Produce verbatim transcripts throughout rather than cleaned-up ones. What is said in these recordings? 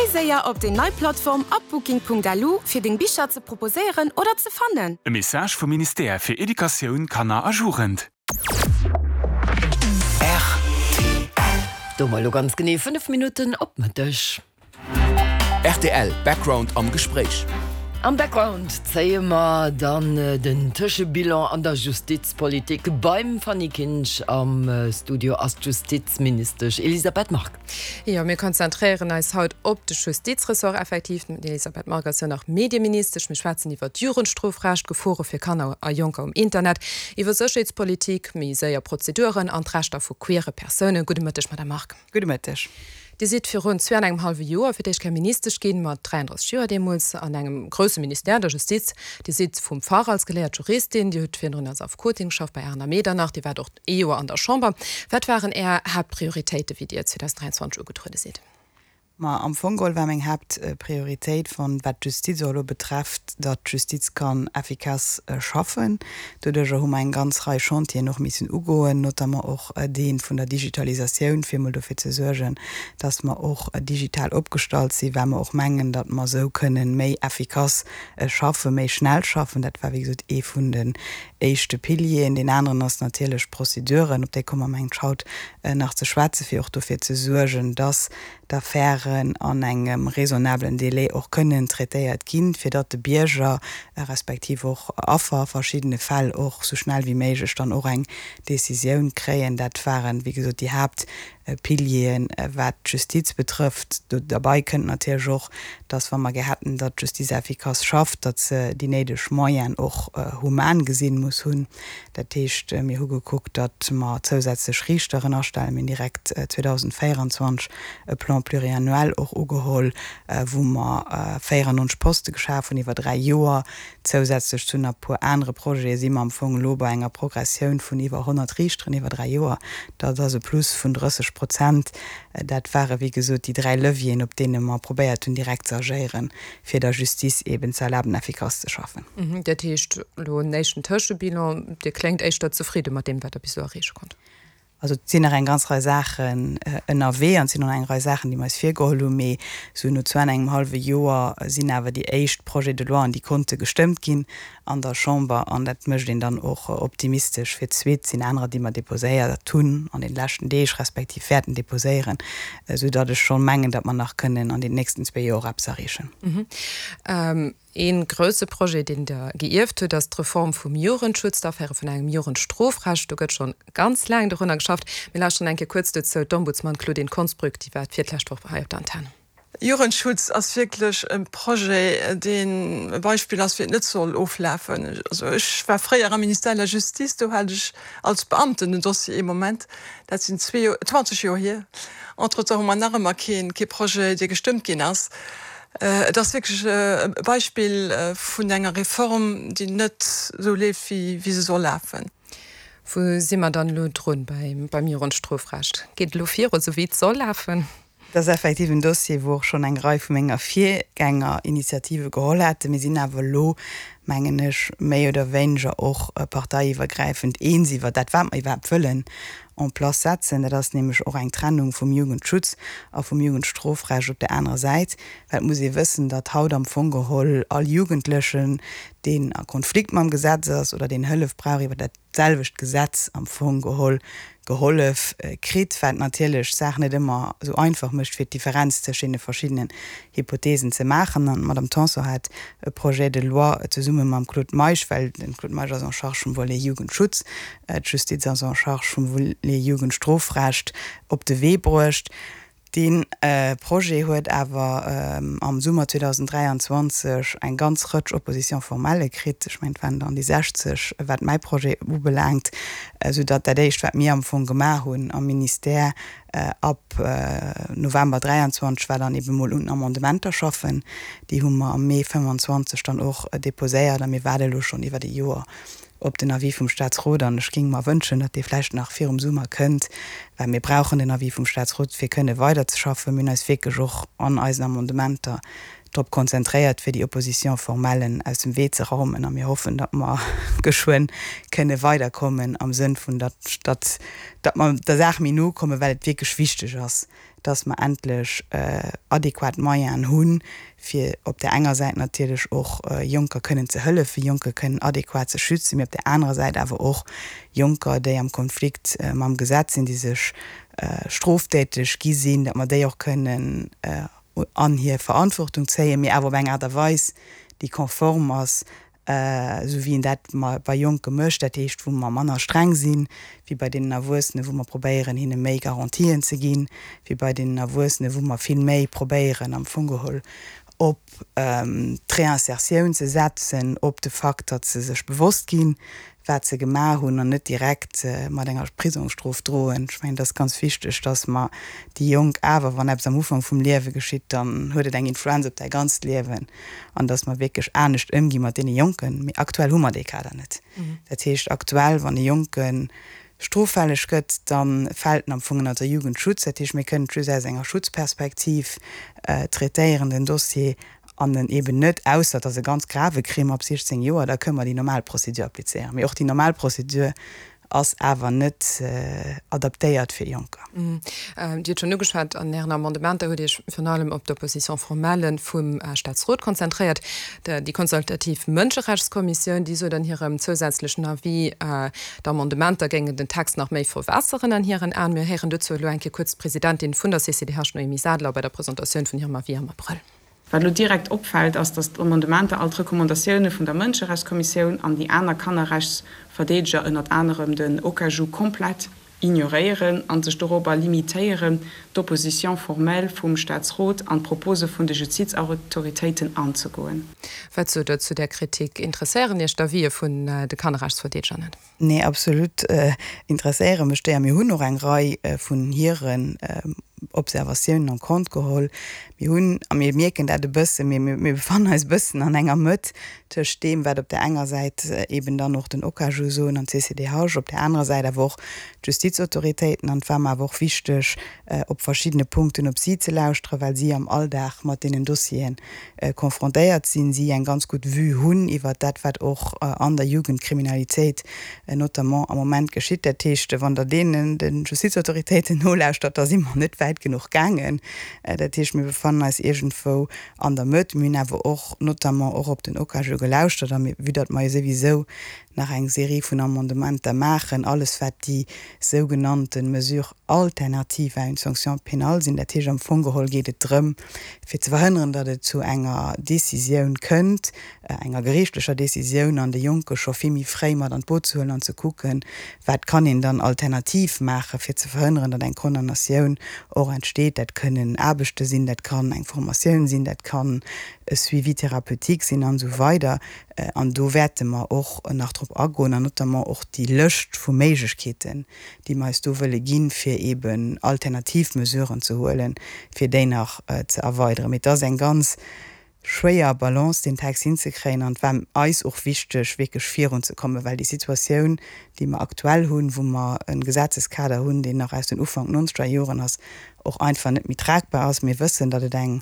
Géi séier op déi nei Plattform upbooking Punkt L U fir deng Bicher ze proposéieren oder ze fannen. E Message vum Ministère fir Educatioun, Kanner a Jugend. Do mol ganz genee fënnef Minutten op Mëtteg. R T L Background am Gespréich. Am Background zéie mer dann äh, den Tëschebilan an der Justizpolitik beim Fanny Kinsch am äh, Studio ass Justizministesch Elisabeth Margue. Jo, mir konzentréieren eis haut op de Justizressort effektiv. D'Elisabeth Margue ass jo nach Medieministesch. Mir schwätzen iwwer d'Jugendstrofrecht, Gefore fir Kanner a Jonker um Internet, iwwer Sécherheetspolitik, méi séier Prozeduren an d'Rechter vu queere Persounen. Gudde Mëtteg, Madame Margue. Gudde Mëtteg. Dir sidd virun zwee an engem hallwe Joer fir d'éischt Ministesch ginn, mat dräiandräisseg Joer deemools an engem grousse Ministère der Justiz. Dir sidd vum Fach als geléiert Juristin, Dir hutt virdrun als Affekotin geschafft bei Arendt a Medernach, Dir waart och ee Joer an der Chamber. Wat waren Är Haaptprioritéite wéi Dir zweedausend dräianzwanzeg ugetruede sidd? Ma am Fong geholl war meng Haaptprioritéit vun wat d'Justiz elo betrëfft, datt d'Justiz kann effikass äh, schaffen. Doduerch hu mer eng ganz Rei Chantieren och missen ugoen, notamment och äh, dee vun der Digitalisatioun fir mol dofir ze suergen, datt mer och äh, digital opgestallt sinn, well mer och mengen, datt mer sou kënnen méi effikass äh, schaffen, méi schnell schaffen. Dat war wéi gesot ee vun den éischte Pilieren. Deen aneren ass natierlech Prozeduren, op déi komme mer haut äh, nach ze schwätzen, fir och dofir ze suergen, datt d'Affären an engem raisonnablen Delai och kënnen traitéiert ginn, fir datt de Bierger äh, respektiv och Affer a verschiddene Fäll och sou schnell wéi méiglech dann och eng Decisioun kréien. Dat waren wéi gesot déi Haaptpilieren äh, wat d'Justiz betrëfft. Dobäi kënnt natierlech och, datt wa mer gären hätten, datt d'Justiz effikass schafft, datt se déi néideg Moyenen och äh, human gesinn muss hunn. Dat heescht äh, mir hu gekuckt, datt mer zousätzlech Riichteren astellen, mir direkt äh, zweedausendvéieranzwanzeg e Plan pluriannuel och ugeholl, äh, wou mer äh, véierannonzeg Poste geschaf hunn iwwer dräi Joer zousätzlech zu e puer anere Projete si mer am Fong lo bei enger Progressioun vun iwwer honnert Riichteren iwwer dräi Joer. Dat ass e Plus vun drësseg Prozent. Äh, dat ware wéi gesot déi dräi Levieren, op deene mer probéiert hunn direkt ze agéieren, fir der Justiz eben ze erlaben effikass ze schaffen. Mhm, dat heescht lo en éischten Tëschebilan, Dir kléngt éischter zefridde mat deem wat Der bis elo erreeche konnt. Also et sinn nach eng ganz Rei Saachen äh, ënnerwee an et sinn nach eng Rei Saachen, déi mer eis virgeholl hunn, mee sou no zwee an engem hallwe Joer sinn awer déi éischt Projets de loi, déi konnte gestëmmt ginn an der Chamber an dat mécht een dann och optimistesch fir d'Suite sinn anerer, déi mer deposéiert hunn an de leschten Deeg respektiv wäerten deposéieren, äh, sou datt ech schonn mengen, datt mer nach kënnen an den nächsten zwee Joer eppes erreechen. Mhm. Ähm, een grousse Projet, deen Der geierft hutt, ass d'Reform vum Jugendschutz, d'Aféiere vun engem Jugendstrofrecht. Do gëtt schonn ganz laang dorunner geschafft. Mir lauschteren eng Kéier kuerz dozou d'Ombudsman Claudine Konsbrück, déi war d'virlescht Woch hei op der Antenn. Jugendschutz ass wierklech e Projet, deen e Beispill ass wéi et net soll oflafen. Also ech war fréier am Ministère de la Justice, do hat ech als Beamten den Dossier ee Moment, dat sinn zwanzeg Joer hier. Entretemps hu mer nach ëmmer keen kee Projet, dee gestëmmt ginn ass. Äh, et ass wierklech e Beispill äh, vun enger Reform, déi net sou leeft wéi, wéi se soll lafen. Wou si mer dann lo drun beim, beim Jugendstrofrecht? Geet lo viru sou wéi et soll lafen? Dat ass effektiv en Dossier, wou och schonn eng Rei vu menge Virgänger Initiative geholl haten. Mir sinn awer lo mengen ech méi oder wéineger och äh, parteiiwwergräifend eens iwwer dat wat mer iwwerhaapt wëllen en place setzen. Dat ass nämlech och eng Trennung vum Jugendschutz a vum Jugendstrofrecht op der anerer Säit. Well et muss ee wëssen, datt haut am Fong geholl all Jugendlechen, deen a Konflikt mam Gesetz ass oder deen Hëllef brauch iwwer dat selwecht Gesetz am Fong geholl gehollef äh, kritt, wat natierlech d'Saach net ëmmer sou einfach mécht fir d'Differenz tëschent deene verschiddenen Hypotheesen ze maachen. An d'Madame Tanson hat e Projet de loi zesumme mam Claude Meisch, well de Claude Meisch ass en charge vum Volet Jugendschutz, äh, d'Justiz ass en charge vum Volet Jugendstrofrecht op de Wee bruecht. Dee äh, Projet huet awer ähm, am Summer zweedausend dräianzwanzeg eng ganz Rëtsch Opposition formelle kritt. Ech mengen et waren dann déi sechzeg wat mäi Projet ubelaangt, äh, sou datt dat éischt wat mir am Fong gemaach hunn am Ministère äh, ab äh, November dräianzwanzeg war dann eben mol un Amendementer schaffen. Déi hu mer am Mee fënnefanzwanzeg dann och äh, deposéiert a mir waarde lo schonn iwwer e Joer op den Avis vum Staatsrot an ech géing mer wënschen, datt dee vläicht nach virum Summer kënnt, well mir brauchen den Avis vum Staatsrot fir kënne weiderzeschaffen. Mir hunn eis wierklech och an eisen Amendementer drop konzentréiert fir déi Opposition formellen aus dem Wee ze raumen a mir hoffen, datt mer geschwënn kënne weiderkommen am Sënn vun datt datt datt mer der Saach méi no kommen, well et wierklech wichteg ass, dass mer endlech adequat Moyenen hunn, fir op där enger Säit natierlech och Jonker kënnen ze hëllefen, Jonker kënnen adequat ze schützen, mee op där anerer Säit awer och Jonker, déi am Konflikt mam Gesetz sinn, déi sech stroftäteg gi sinn, datt mer déi och kënnen an hir Verantwortung zéien, mee awer op eng Aart a Weis, déi konform ass, esou wéi een dat bei Jonke mécht, dat heescht wou mer manner streng sinn wéi bei deenen Erwuessenen, wou mer probéieren hinne méi Garantien ze ginn, wéi bei deenen Erwuessenen, wou mer vill méi probéieren am Fong geholl op d'Réinsertioun ze setzen, op de Fakt, datt se sech bewosst ginn, wat se gemaach hunn an net direkt mat enger Prisongsstrof droen. Ech mengen, et ass ganz wichteg, datt mer déi Jonk awer, wann eppes am Ufank vum Liewe geschitt, dann huet et eng Influenz op däi ganzt Liewen, an datt mer wierklech anescht ëmgi mat deene Jonken. Mee aktuell hu mer dee Kader net. Dat heescht, aktuell, wann e Jonke stroffälleg gëtt, da fält en am Fong ënner de Jugendschutz. Dat heescht, mir kënnen et just aus enger Schutzperspektiv traitéieren, den Dossier, an en eben net, ausser et ass e ganz grave Crime ab siechzéng Joer, da kënnen mer déi normal Procédure applizéieren. Mee och déi normal Procédure ass awer net adaptéiert fir Jonker. Dir hutt schonn ugeschwat, an Ären Amendementer hutt Dir Iech virun allem op d'Opposition formelle vum Staatsrot konzentréiert. Déi consultativ Mënscherechtskommissioun, déi sot an hirem zousätzlechen Avis, d'Amendementer géingen den Text nach méi verwässeren an hiren Aen. Mir héieren dozou elo eng Kéier kuerz d'Presidentin vun der C C D H, Noémie Sadler, bei der Presentatioun vun hirem Avis am Abrëll. Wat elo direkt opfält, ass, datt d'Amendementer all d'Recommandatioune vun der Mënscherechtskommissioun an déi aner Kannerrechtsverdeedeger, ënnert anerem den OKAJU, komplett ignoréieren a sech dorobber limitéieren, d'Opposition formelle vum Staatsrot an d'Propose vun de Justizautoritéiten anzegoen. Wat sot Der zu där Kritik? Interesséieren Iech d'Avisë vun de Kannerrechtsverdeedeger net? Nee, absolut interesséiere mech déi a mir hunn och eng Rei vun hiren Observatiounen en compte geholl. Mir hunn, a mir mierken dat e bëssen, mir, mir befannen eis e bëssen an enger Mëtt tëscht deem, wat op där enger Säit eeben dann och den OKAJU soen an d'C C D H, op där anerer Säit awer och d'Justizautoritéiten. An et war mer awer och wichteg, op verschiddene Punkten op si ze lauschteren, well si am Alldag mat deenen Dossieren confrontéiert sinn, si eng ganz gutt Vue hunn iwwert dat, wat och an der Jugendkriminalitéit notamment am Moment geschitt. Dat heescht, wann Der deenen, de Justizautoritéiten nolauschtert, da si mer net wäit genuch gaangen. Dat heescht, mir befannen eis iergendwou an der Mëtt. Mir hunn awer och notamment och op den OKAJU gelauschtert a mir, vue datt mer jo souwisou nach eng Serie vun Amendementer maachen, alles wat déi sougenannte Mesures alternatives à une sanction pénale sinn, dat heescht am Fong geholl geet et drëm, fir ze verhënneren, datt et zu enger Décisioun kënnt, enger geriichtlecher Décisioun, an de Jonke scho vill méi fréi mat an d'Boot ze huelen an ze kucken, wat kann een dann alternativ maachen, fir ze verhënneren, datt eng Condamnatioun och entsteet. Dat kënnen Aarbechte sinn, dat kann eng Formatioun sinn, dat kann e Suivi thérapeutique sinn an esou weider. An do wäerte mer och nach drop agoen an notamment och déi Lëscht vu Méiglechkeeten, déi mer eis do wëlle ginn, fir eeben alternativ Mesuren ze huelen, fir déi nach ze erweideren. Mee et ass eng ganz schwéier Balance, deen Text hinzekréien. An et war eis och wichteg, wierklech virunzekommen, well déi Situatioun, déi mer aktuell hunn, wou mer e Gesetzeskader hunn, deen nach aus den Ufank nonzeger Joren ass, och einfach net méi tragbar ass. Mir wëssen, datt et eng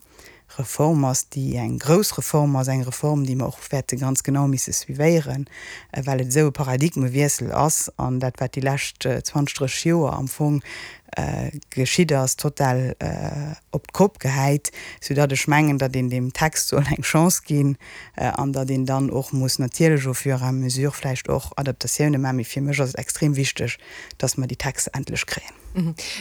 Reform ass, déi eng grouss Reform ass, eng Reform, déi mer och wäerte ganz genau misse suivéieren, well et esou e Paradigmewiessel ass an dat, wat déi lescht zwanzeg, drësseg Joer am Fong geschitt ass, total op d'Kopp gehäit, soudatt ech mengen, datt een deem Text soll eng Chance ginn an datt een dann och muss natierlech au fur et à mesure vläicht och Adaptatioune maachen. Mee fir mech ass et extrem wichteg, datt mer déi Texter endlech kréien.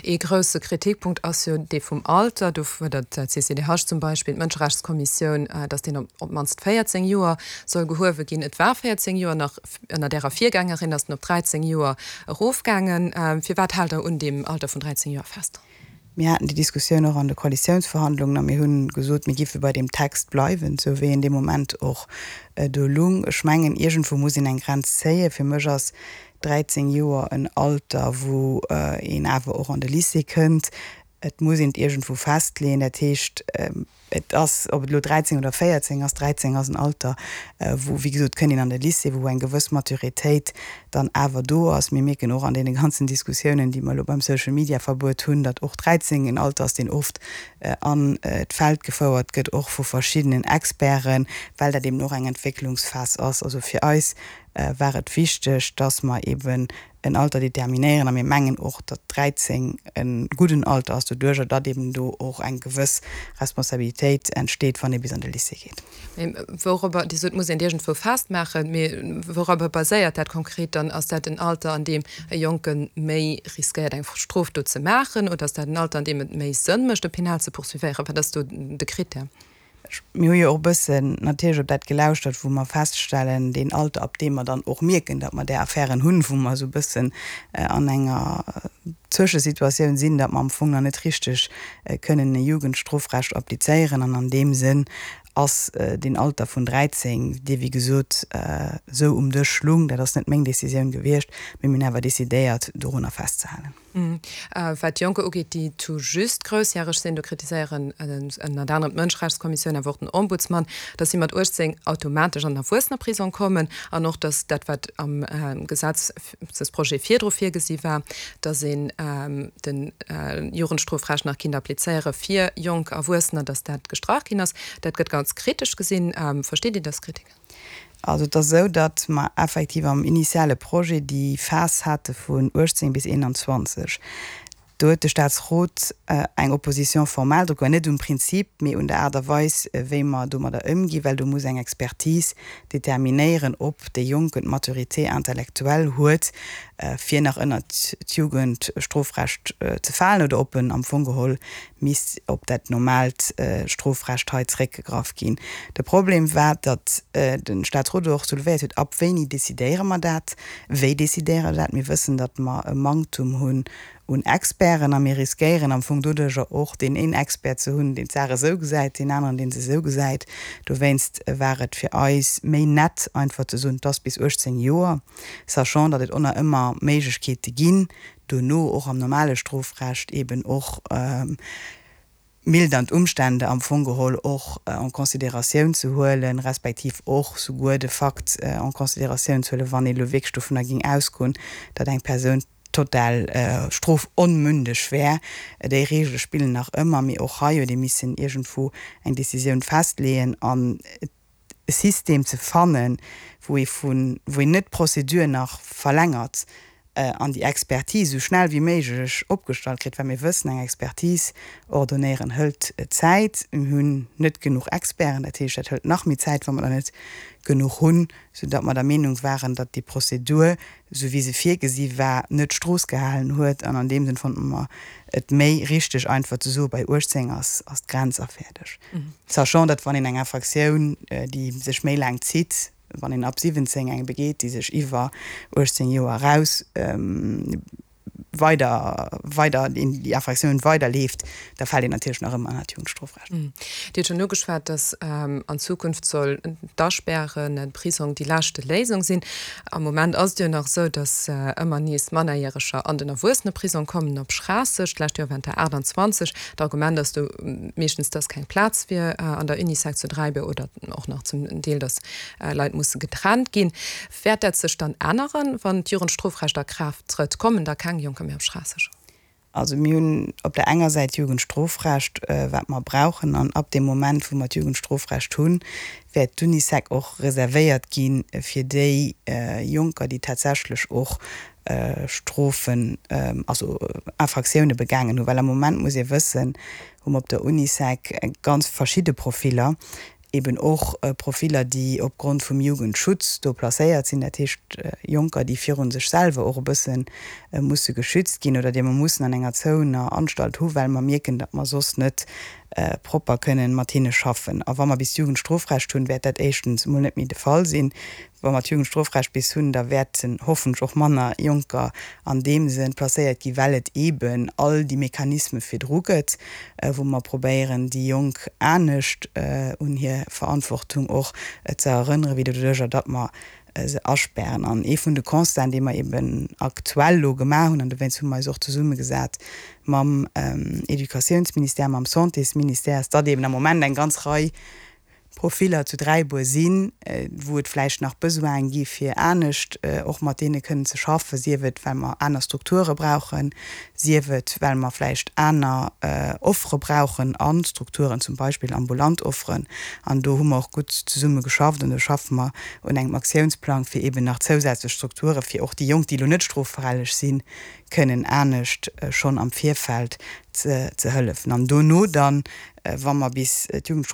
Ee grousse Kritikpunkt ass jo dee vum Alter. Do fuerdert d'C C D H zum Beispill, d'Mënscherechtskommissioun, datt deen op d'mannst véierzéng Joer soll gehuewe ginn. Et war véierzéng Joer, nach ënnert Ärer Virgängerin ass en op dräizéng Joer erofgaangen. Firwat haalt Der un deem Alter vun dräizéng Joer fest? Mir haten déi Diskussioun och an de Koalitiounsverhandlungen a mir hunn gesot, mir géife bei deem Text bleiwen, esou wéi en dee Moment och do lung. Ech mengen, iergendwou muss een eng Grenz zéien. Fir mech ass dräizéng Joer en Alter, wou een awer och an de Lycée kënnt. Et muss een et iergendwou festleeën. Dat heescht, et ass, ob et elo dräizéng oder véierzéng ass, dräizéng ass en Alter, wou, wéi gesot, kënnt een an de Lycée, wou eng gewëss Maturitéit dann awer do ass. Mir mierken och an deene ganzen Diskussiounen, déi mer elo beim Social-Media-Verbuet hunn, datt och dräizéng en Alter ass, deen oft an d'Feld gefouert gëtt, och vu verschiddenen Experten, well dat eben och eng Entwécklungsphas ass. Also fir eis war et wichteg, dass mer eben en Alter determinéieren a mir mengen och, datt dräizéng e gudden Alter ass, doduerjer datt eben do och eng gewëss Responsabilitéit entsteet, wann ee bis an de Lycée geet. Mee wourobber, Dir sot, et muss een et iergendwou festmaachen, mee wourobber baséiert dat konkret dann? Ass dat en Alter, an deem e Jonke méi riskéiert, eng Strofdot ze maachen, oder ass dat en Alter, an deem et méi Sënn mécht, e penal ze poursuivéieren? Wat ass do de Krittär? Mir hu jo och e bëssen natierlech op dat gelauschtert, wou mer feststellen, deen Alter, ab deem mer dann och mierken, datt mer där Affären hunn, wou mer esou e bëssen an enger Zwëschesituatioun sinn, datt mer am Fong nach net richteg kënnen e Jugendstrofrecht applizéieren. An an deem Sënn ass deen Alter vun dräizéng, dee wéi gesot esou um Dësch lung, dat ass net meng Décisioun gewiescht, mee mir hunn awer décidéiert, dorunner festzehalen. Wat d'Jonker ugeet, déi tout juste groussjäreg sinn, do kritiséieren ënnert anerem d'Mënscherechtskommissioun, awer och den Ombudsman, datt si mat uechtzéng automatesch an den Erwuessenerprisong kommen an och, datt dat, wat am Gesetzesprojet virdru virgesi war, datt een de Jugendstrofrecht nach kinnt applizéiere fir jonk Erwuessener, datt dat gestrach ginn ass. Dat gëtt ganz kritesch gesinn. Versteet Dir dës Kritik? Also et ass esou, datt mer effektiv am initiale Projet déi Phas hate vun uechtzéng bis eenanzwanzeg. Do huet de Statsrot eng Opposition formelle dru gemaach, net um Prinzip, mee un der Aart a Weis, wéi mer domadder ëmginn, well do muss eng Expertise determinéieren, ob dee Jonken d'Maturité intellectuelle huet, fir nach ënnert d'Jugendstrofrecht ze falen oder ob en am Fong geholl misst op dat normaalt Strofrecht hei zréckgegraff ginn. De Problem war, datt de Statsrot och soulevéiert huet, Ab wéini decidéiere mer dat? Wéi decidéiere mer dat? Mir wëssen, datt mer e Manktum hunn un Experten a mir riskéieren am Fong doduerjer och, deen een Expert ze hunn, deen d'Saach esou gesäit, deen aneren, deen se esou gesäit. Dowéinst war et fir eis méi nett, einfach ze soen, et ass bis uechtzéng Joer, sachant, datt et och nach ëmmer Méiglechkeete ginn, dono och am normale Strofrecht eben och mildernd Umstände am Fong geholl och en considératioun ze huelen, respektiv och souguer de Fakt en considératioun ze huelen, wann ee elo wierklech dovunner géing ausgoen, datt eng Persoun total strofonmündeg wär. Déi Regele spillen nach ëmmer, mee och hei huet ee missen iergendwou eng Décisioun festleeën an e System ze fannen, wou ee vun, wou een net d'Prozedur nach verlängert an déi Expertise esou schnell wéi méiglech opgestallt kritt, well mir wëssen, eng Expertise ordonnéieren hëlt Zäit. Mir hunn net genuch Experten, dat heescht, dat hëlt nach méi Zäit, wa mer der net genuch hunn, soudatt mer der Meenung waren, datt déi Prozedur, esou wéi se virgesi war, net d'Strooss gehalen huet. An an deem Sënn fannte mer et méi richteg, einfach ze soen, bei uechtzéng ass d'Grenz a fäerdeg. Sachant, datt wann een eng Infraktioun, déi sech méi laang zitt, wann een ab siwwenzéng eng begeet, déi sech iwwer uechtzéng Joer eraus weider, weider, déi Infraktioun weiderleeft, da fält een natierlech nach ëmmer ënnert d'Jugendstrofrecht. Dir hutt schonn ugeschwat, datt an Zukunft soll d'Aspären, den Prisong déi leschte Léisung sinn. Am Moment ass et jo nach esou, datt ëmmer nees Mannerjäreger an den Erwuesseneprisong kommen, op Schraasseg. D'lescht Joer waren et der aachtanzwanzeg. D'Argument ass do meeschtens, datt keng Plaz wier an der Unisec zu Dräibuer oder och nach zum Deel, datt Leit musse getrennt ginn. Wäert dat sech dann änneren, wann d'Jugendstrofrecht a Kraaft trëtt? Kommen da keng Jonker méi op Schraasseg? Also mir hunn op der enger Säit d'Jugendstrofrecht, wat mer brauchen, an ab deem Moment, wou mer d'Jugendstrofrecht hunn, wäert d'Unisec och reservéiert gi fir déi Jonker, déi tatsächlech och Strofen, also Infractioune begaangen hunn. Well am Moment, muss ee wëssen, hu mer op der Unisec ganz verschidde Profiller, eben och Profiller, déi opgrond vum Jugendschutz do placéiert sinn, dat heescht Jonker, déi viru sech selwer och e bësse musse geschützt ginn oder déi mer mussen an enger zouener Anstalt hu well mer mierken, datt mer soss net propper kënnen mat hinne schaffen. A wa mer bis d'Jugendstrofrecht hunn, wäert dat éischtens emol net méi de Fall sinn. Wa mer d'Jugendstrofrecht bis hunn, da wäerten hoffentlech och manner Jonker an deem Sënn placéiert ginn, well et eeben all déi Mechanisme virdru gëtt, wou mer probéieren, déi Jonk anescht un hir Verantwortung och ze erënneren, wéi doduerjer, datt mer se aspären. An ee vun de Constaten, dee mer eeben aktuell elo gemaach hunn, an dowéinst hu mer eis och zesummegesat mam Educatiounsministère, mam Santésministère, ass, datt eeben am Moment eng ganz Rei Profiller zu Dräibuer sinn, wou et vläicht nach Besoine gi fir anescht och mat deene kënnen ze schaffen, sief et well mer aner Strukture brauchen, sief et well mer vläicht aner Offere brauchen a Strukturen, zum Beispill ambulant Offeren. An do hu mer och gutt zesumme geschafft an do schaffe mer un engem Aktiounsplang, fir eeben nach zousätzlech Strukture fir och déi Jonk, déi elo net stroffälleg sinn, kënnen anescht schonn am Virfeld ze hëllefen. An dono dann, wa mer bis d'Jugendstrofrecht,